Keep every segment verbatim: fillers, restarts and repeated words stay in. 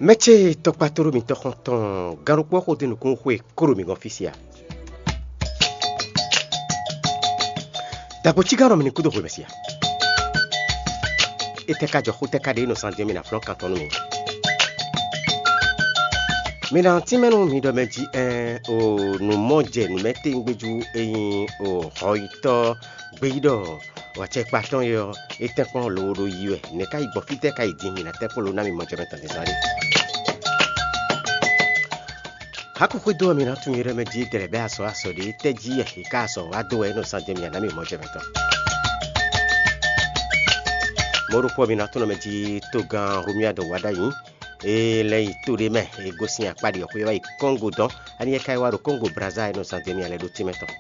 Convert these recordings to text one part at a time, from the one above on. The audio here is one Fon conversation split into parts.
Mɛ ce tɔkpatoro mitɔn xɔn tɔn gannukpɔ́ xo dó nukún xwe kó ɖo mi gɔ́n fí sia. Dagbo cígán nɔ mi ní kúdó xwe mɛ sia. Étɛ́ ka jɔ xó tɛ́ ka ɖe nɔ sán din mi ná flɔ́n kan tɔn nú mi? Mi ná tínmɛ nú mi ɖɔ mɛ jí ɛn o nǔ mɔ jɛ nǔ mɛ tewungbejú e nyí o hɔyitɔ́ gbeyíɖɔ wacɛkpa tɔn e ɔ́, é tɛ́nkpɔ́n lowo ɖo yi wɛ. Nɛ̌ ka yi gbɔn fítɛ́ ka yi din mi ná tɛ́nkpɔ́n lowo ná mi mɔ jɛ mɛ tɔn din zán ɖé? Haku xwedó ɔ́, mi ná tunwun yɛɖɛ́ mɛ jí dɛlɛ bɛ́ azɔ̌ azɔ̌ ɖé tɛ́ jí yɛ è ká azɔ̌ wá dó wɛ é nɔ zán jɛ mi ná mi mɔ jɛ mɛ tɔn. Mɔ̌ ɖokpó ɔ́, mi ná tunwun mɛ jí togán Romuald Wadagni é lɛ́ yi to ɖé mɛ, é gosín akpá ɖi xwé wá yi Kɔ́ngo dɔn. Ani yɛ ka yi wá ɖo Kɔ́ngo Brazza é nɔ zán jɛ mi lɛ́ ɖó tínmɛ tɔn.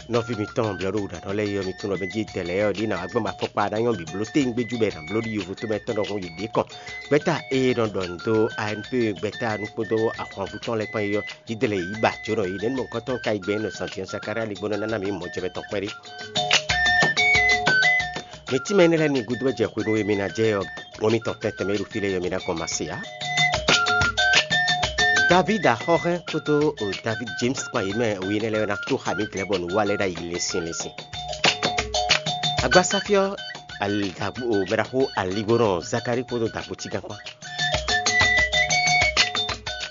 Nɔví mitɔn blɛ́ ɖo wǔɖaɖɔ lɛ́ɛ yi ɔ́, mi tunwun ɖɔ mɛ jí dɛlɛ ɔ́ ɖi ná wá gbɔn afɔkpa ná nyɔ́ bǐ bló téngbéjú bɔ è nǎ bló ɖi yovo tómɛ tɔn ɖɔhun yi ɖě kɔn. Gbɛ́ta e nɔ ɖɔ nǔ dó A N P gbɛ́ta nú kpódó ahwanvú tɔn lɛ́ɛ kpán é ɔ́, jídɛlɛ yě yi ba jǒnɔ yě nɛ́ mɔ̌hunkɔtɔn ka yi gbɛn nɔ zǎntín Zakalía ligbɔ́nɔ ná ná mǐ mɔ jɛ mɛ tɔn kpɛ́ɖé. Mi tínmɛ énɛ́ lɛ́ɛ ní gúdo wɛ jɛ hwenu e mi ná jɛ ɔ́, wɔ mitɔn tɛntɛn mɛ e ɖo fí lɛ́ɛ ɔ́, mi ná gɔn ma se ǎ. Davíd axɔ́hɛn kpódó Davíd James kpán yě mɛ we énɛ́ lɛ́ɛ ná tó xa mǐ glɛ́ bɔ nǔ wa lɛ́ɛ ɖ'ayǐ lɛ́nsin lɛ́nsin. Agbasáfí ɔ́, mɛɖaxó aligbónɔ Zakalí kpódó dagbo cígán kpán.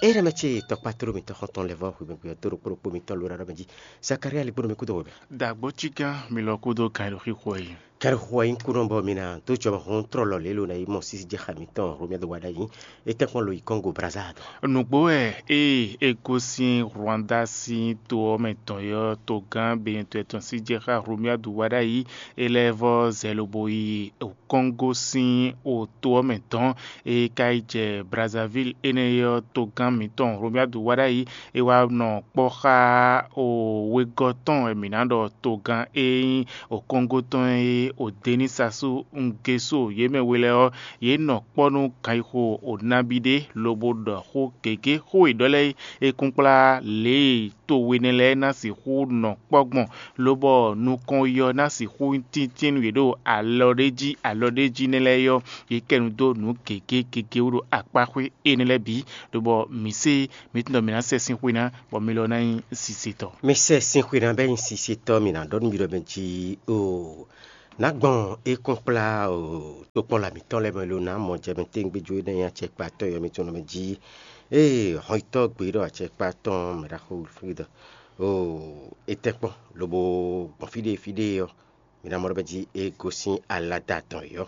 Énɛ́ mɛ ce tɔkpá tló mitɔn xɔ́ntɔn lɛ́ vɔ́ xwimɛgbɛ ɔ́ dó ɖokpó ɖokpó mitɔn ló ɖaɖɔ mɛ jí. Zakalí aligbónɔ mi kúdó webɛ. Dagbo cígán mi lɔ kúdó kan e ɖo xixo ɛ yi. Kɛɖɛxo wɛ nyí kúnɔ bɔ mi ná dó jɔmɔhún tlɔlɔ lě lo ná yi mɔ sísí jɛ xa mitɔn Romuald Wadagni. É tɛ́nkpɔ́n lo yi Kɔ́ngo Brazza dɔn. Nǔgbó wɛ ée é gosín Rwanda sín to ɔ́ mɛ tɔn ɔ́, togán Benɛtɔ́ tɔn sín jɛ xá Romuald Wadagni é lɛ́ vɔ́ zɛ lobo yi Kɔ́ngo sín to ɔ́ mɛ tɔn. É ka yi jɛ Brazzaville énɛ́ ɔ́, togán mǐtɔn Romuald Wadagni é wá nɔ kpɔ́ xá wegɔ́ tɔn wɛ mǐ ná ɖɔ togán e nyí Kɔ́ngo tɔn e Denísasu Ngeso yě mɛ we lɛ́ɛ ɔ́, yě nɔ kpɔ́ nú ganxixo nabí ɖé lobo ɖɔ xó gěgé. Xó e ɖɔ lɛ́ɛ é kún kplá lě e to we nɛ́ lɛ́ɛ ná sixú nɔ kpɔ́ gbɔn, lobɔ nukɔn yi ɔ́ ná sixú nyí tíntín nú yě ɖo alɔ ɖé jí alɔ ɖé jí nɛ́ lɛ́ɛ ɔ́, yě kɛ nu dó nǔ gěgé gěgé wú ɖo akpáxwé énɛ́ lɛ́ɛ bǐ, lobɔ mǐ se mǐ tunwun ɖɔ mǐ ná sɛ sín xwé ná, bɔ mi lɔ ná nyí sisetɔ. Mi sɛ sín xwé ná bɛ́ nyí sisetɔ, mǐ ná ɖɔ nú mi ɖɔ mɛ jí o. Nǎ gbɔn é kún kplá o tokpɔ́nla mǐtɔn lɛ́ɛ mɛ lo ná mɔ jɛ mɛ téŋgbéjú énɛ́ nyí acɛkpatɔ́ yɔ mitɔn mɛ jí. Ée hɔnyitɔ́ gbe ɖɔ acɛkpatɔ́ mɛ ɖaxó Wilfrid o é tɛ́ kpɔ́n lobo gbɔn fí ɖé fí ɖé ɔ́, mi ná mɔ ɖɔ mɛ jí é gosín alada tɔn yɔ.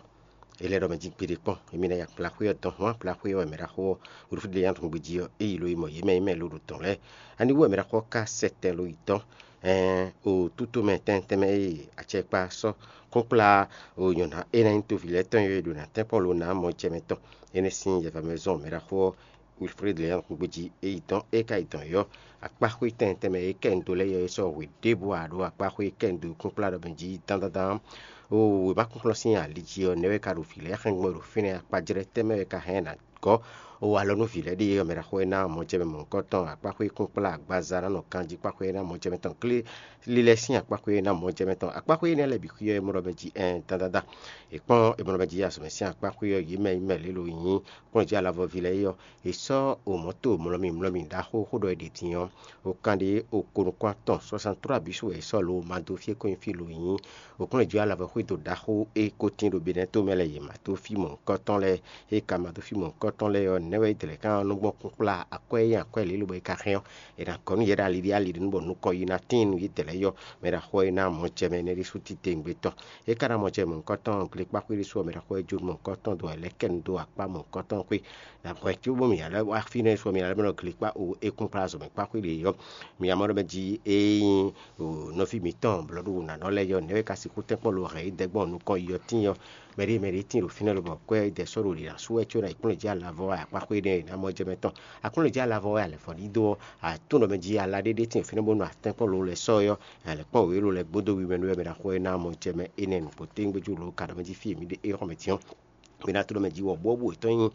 É lɛ́ ɖɔ mɛ jí gbeɖé kpɔ́n, émí ná yi akplaxwé ɔ́ dɔn hɔn akplaxwé ɔ́ wɛ mɛ ɖaxó ɔ́ Wilfrid lɛ́ nyí atɔngbe jí ɔ́, é yi lo yi mɔ yě mɛ nyí mɛ lo ɖo tɔn lɛ́ɛ. Ani wú wɛ mɛ ɖaxó ɔ́ ka sɛ tɛ lo yi tɔn? Ɛɛn, o tútú mɛ tɛntɛn mɛ e acɛkpa sɔ́ kún kplá o nyɔ̌ná é ná nyí toví lɛ́ɛ tɔn e ɖo ná tɛ́nkpɔ́n lo ná mɔ jɛ mɛ tɔn. Énɛ́ sín yɛva mɛ zɔn mɛ ɖaxó ɔ́ Wilfrid lɛ́ nyí atɔngbe jí é yi dɔn é ka yi dɔn yɔ. Akpáxwé tɛntɛn mɛ e kɛ un dó lɛ́ɛ yɔ é sɔ́ hwe ɖěbǔ ǎ ɖó akpáxwé e kɛ un dó kún kplá ɖɔ mɛ jí dán dán dán. O wěmakúnkplɔ́n sín ali jí ɔ́, nɛ̌ wɛ ka ɖo vǐ lɛ́ɛ xɛn gbɔn ɖo fínɛ́ akpájlɛ́ tɛ́ mɛ wɛ ka hɛn ná gɔ́? O alɔ nú vǐ lɛ́ɛ ɖíe ɔ́, mɛ ɖaxó e ná mɔ jɛ mɛ mɔ̌hunkɔtɔn akpáxwé kún kplá agbaza ná nɔ ganjí kpáxwé e ná mɔ jɛ mɛ tɔn klé lílɛ́ sín akpáxwé e ná mɔ jɛ mɛ tɔn akpáxwé énɛ́ lɛ́ɛ bǐ xwíyɔ́ é mɔ ɖɔ mɛ jí ɛn dandandan. È kpɔ́n è mɔ ɖɔ mɛ jí azɔ̌ mɛ sín akpáxwé ɔ́, yě mɛ yí mɛ lě lo nyí kplɔ́njí alavɔví lɛ́ɛ é ɔ́, è sɔ́ o mɔ̌to mlɔ́mì mlɔ́mì ɖaxó xó ɖɔ è ɖe din ɔ́, o kanɖé o ko nukún atɔn soixante-trois bǐ su wɛ è sɔ́ lo ma dó fí e ko nyí fí lo nyí. Òkúnlɛ́jɔ́ alavɔ xwédo ɖaxó e ko tín ɖo Benɛ́to mɛ lɛ́ɛ yě ma dó fí mɔ̌hunkɔtɔn lɛ́ɛ. E ka ma dó fí mɔ̌hunkɔtɔn lɛ́ɛ ɔ́, nɛ̌ wɛ é dlɛ̌ ká nɔ gbɔn kúnkplá akwɛ́ e nyí akwɛ́ lě lobo é ka hɛn ɔ́, è nǎ gɔ́ nú yě ɖo ali ɖé ali ɖé nú bɔ nukɔn yi ná tíin nú yědɛɛ lɛ́ɛ yɔ. Mɛ ɖaxó e ná mɔ jɛ mɛ énɛ́ ɖésú titewungbe tɔn. É ka ná mɔ jɛ mɔ̌hunkɔtɔn glekpáxwé ɖésú ɔ́, mɛ ɖaxó e jó mɔ̌hunkɔtɔn dó wɛ lɛ́ kɛ nu dó akpá mɔ̌hunkɔtɔn xwé. Nǎ hwɛ cóbó mì ná lɛ́ wá fínɛ́ sɔ mì ná lɛ́ mɛ nɔ glekpá o é kún kplá azɔ̌ mɛ kpáxwé ɖě yɔ. Mi ná mɔ ɖɔ mɛ jí é nyí nɔví mǐtɔn blɔ̌ɖu nǎnɔ lɛ́ɛ yɔ, nɛ̌ wɛ ka sixú tɛ́nkpɔ́n lo hɛn yi dɛ́ gbɔn nukɔn yi ɔ́ tíin ɔ́? Mɛ ɖé mɛ ɖé tíin ɖo fínɛ́ lobɔ kwɛ́ dɛ sɔ́ ɖo ɖě ná sú wɛ có ná yi kplɔ́n jí alavɔ wɛ akpáxwé nɛ́ ná mɔ jɛ mɛ tɔn. Aklúnɔ jí alavɔ wɛ alɛ̌ fɔ ɖídó ɔ́, àtúnɔ mɛ jí alá ɖé ɖé tíin ɖo fínɛ́ bónú atɛ́nkpɔ́n lo lɛ́ sɔ́ ɔ́, alɛ̌ kpɔ́n wěwé lo lɛ́ gbódó wi mɛ nú wɛ mɛ ná xɔ é ná mɔ jɛ mɛ énɛ́ nǔgbó téŋgbéjú lo ka ɖɔ mɛ jí fí e mǐ ɖe é xɔ mɛ tín ɔ́. Mǐ ná tló mɛ jí wɔ̌buwɔ́bú yětɔn nyí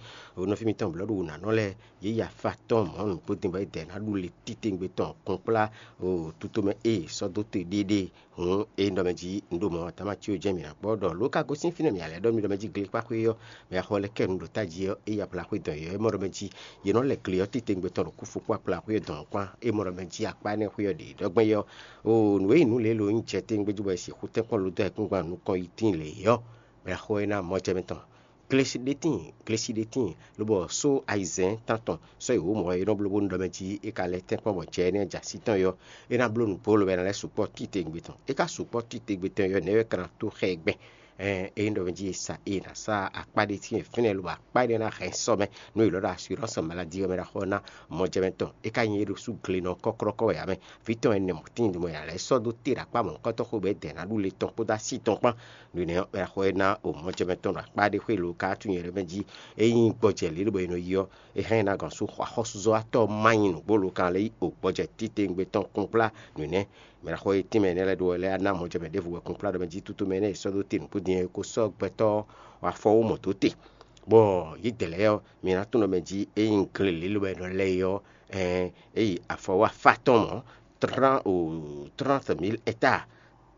nɔví mitɔn blɔ̌ɖu wǔnanɔ lɛ́ɛ, yě yi afa tɔn mɔ̌ nǔgbó din bɔ é dɛ ná ɖu le titewungbe tɔn kplɔ́nkplá tutomɛ e sɔ́ dó te ɖéeɖée. Hǔn é ɖɔ mɛ jí un ɖo mɔ Damácio jɛ́n mǐ ná kpɔ́ ɖɔ lǒ ka gosín fínɛ́ mǐ ná lɛ́ ɖɔ mì ɖɔ mɛ jí glekpáxwé ɔ́, mɛ axɔ lɛ́ kɛ nǔ ɖo tají ɔ́, é yi ablaxwé dɔn yě ɔ́, é mɔ ɖɔ mɛ jí yě nɔ lɛ gle ɔ́ titewungbe tɔn ɖo kúfokpó akplaxwé ɔ́ dɔn kpán, é mɔ ɖɔ mɛ jí akpá énɛ́ xwé ɔ́ ɖě ɖɔ gbɛn yɛ ɔ́, oo nǔ e nyí nǔ lě lo nyí jɛ tɛ́ngbé jí bɔ è sixú tɛ́nkpɔ́n lodó ayǐkúngban nukɔn yi tíin lě é ɔ́, mɛ axɔ é ná mɔ jɛ mɛ tɔn. Glesi ɖé tíin, glesi ɖé tíin, lobɔ só ayizɛ́n tántɔn sɔ́ yi wǒ mɔ̌ e nɔ bló bónú ɖɔ mɛ jí é ka lɛ́ tɛ́nkpɔ́n bɔ jɛ énɛ́ jɛ así tɔn é ɔ́, é ná bló nǔgbó lobo é ná lɛ́ sukpɔ́ titewungbe tɔn. É ka sukpɔ́ titewungbe tɔn é ɔ́, nɛ̌ wɛ é ka ná tó xá ɛ gbɛn? Ɛn é nyí ɖɔ mɛ jí è sa è nǎ sa akpá ɖé tíin fínɛ́ lobo akpá énɛ́ ná hɛn sɔ́ mɛ, nú è lɔ̌ ɖo assurance maladie ɔ́ mɛ ɖaxó ɔ́ ná mɔjɛmɛ tɔn. É ka nyí é ɖo sú glenɔ kɔ́klɔ́kɔ́ wɛ ǎ mɛ. Vǐ tɔn ɛnɛ mɔ̌ tíin mɔ è nǎ lɛ́ sɔ́ dó te ɖo akpá mɔ̌hunkɔtɔn xwé bɔ é dɛ ná ɖu le tɔn kpódó así tɔn kpán. Nǔ énɛ́ ɔ́, mɛ ɖaxó ɔ́ ná o mɔjɛmɛ tɔn ɖo akpá ɖé xwé lo ka tunwun nyɛ ɖɔ mɛ jí é nyí gbɔjɛ lě lobo è nɔ yi ɔ́, é hɛn ná gɔn sú xɔ axɔ́súzɔ́watɔ́ ma nyi nǔgbó lo kan lɛ́ yi o gbɔjɛ titewungbe tɔn kplɔ́nkplá nǔ nɛ́. Mɛ ɖaxó e tínmɛ énɛ́ lɛ́ɛ ɖó wɛ lɛ́ɛ ná mɔjɛmɛ ɖěvo wɛ kplɔ́nkplá ɖɔ mɛ jí tútú mɛ énɛ́ e sɔ́ dó te nǔkúndin é ko sɔ́ gbɛtɔ́ afɔ wó mɔ dó te. Bɔ yě dɛ lɛ́ɛ ɔ́, mi ná tunwun ɖɔ mɛ jí é nyí gle lě lobo è nɔ lɛ́ yi ɔ́, é yi afɔ wá fa tɔn mɔ̌, trán o tránte mil hectares,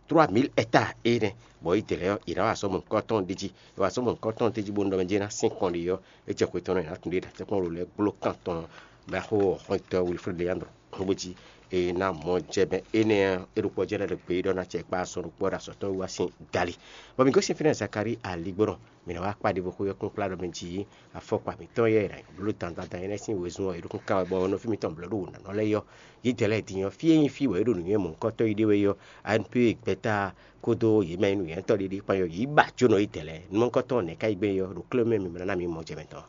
trois mille hectares énɛ́, bɔ yě dɛ lɛ́ɛ ɔ́, yě ná wa azɔ̌ mɔ̌hunkɔtɔn ɖ'é jí. È wa azɔ̌ mɔ̌hunkɔtɔn d'é jí bónú ɖɔ mɛ jí é ná sín kɔn ɖi ɔ́, é jɛ xwe tɔn nɔ è nǎ tunwun ɖe ɖo atɛ́kpɔ́n lě lɛ́ɛ gbló kan tɔn. Mɛ xó xɔ́ntɔn Wilfred Leandro, bó jí è nǎ mɔ jɛ mɛ énɛ́ ɔ́, é ɖokpó jɛ́n lɛ́ ɖo gbeyíɖɔ ná acɛ kpa azɔn ɖokpó ɔ́ ɖo azɔ̌ tɔn wíwá sín dali. Bɔ mǐ gosín fínɛ́ Zakalíi aligbɔnɔ, mǐ nǎ wá kpa ɖěvo xwé ɔ́ kplɔ́nkplá ɖɔ mɛ jí afɔkpa mǐtɔn yɛ è nǎ bló dandan dandan énɛ́ sín wezun ɔ́, è ɖo kúnkan wɛ bɔ nɔví mitɔn blɔ̌ ɖo wǒnanɔ lɛ́ɛ yɔ. Yědɛɛ lɛ́ɛ din ɔ́, fí e nyí fí wɛ é ɖo nǔnywɛ́ mɔ̌hunkɔtɔn yi ɖe wɛ é ɔ́, A N P gbɛ́ta kpódó yě mɛ e nyí nǔnywɛ́tɔ́ ɖé ɖe kpán ɔ́, yě yi ba jó nɔ yědɛɛ lɛ́ɛ. Nǔ mɔ̌hunkɔtɔn nɛ̌ ká yi gbɛn é ɔ́, ɖo klé mɛ mǐmlá ná mǐ mɔ jɛ mɛ tɔn.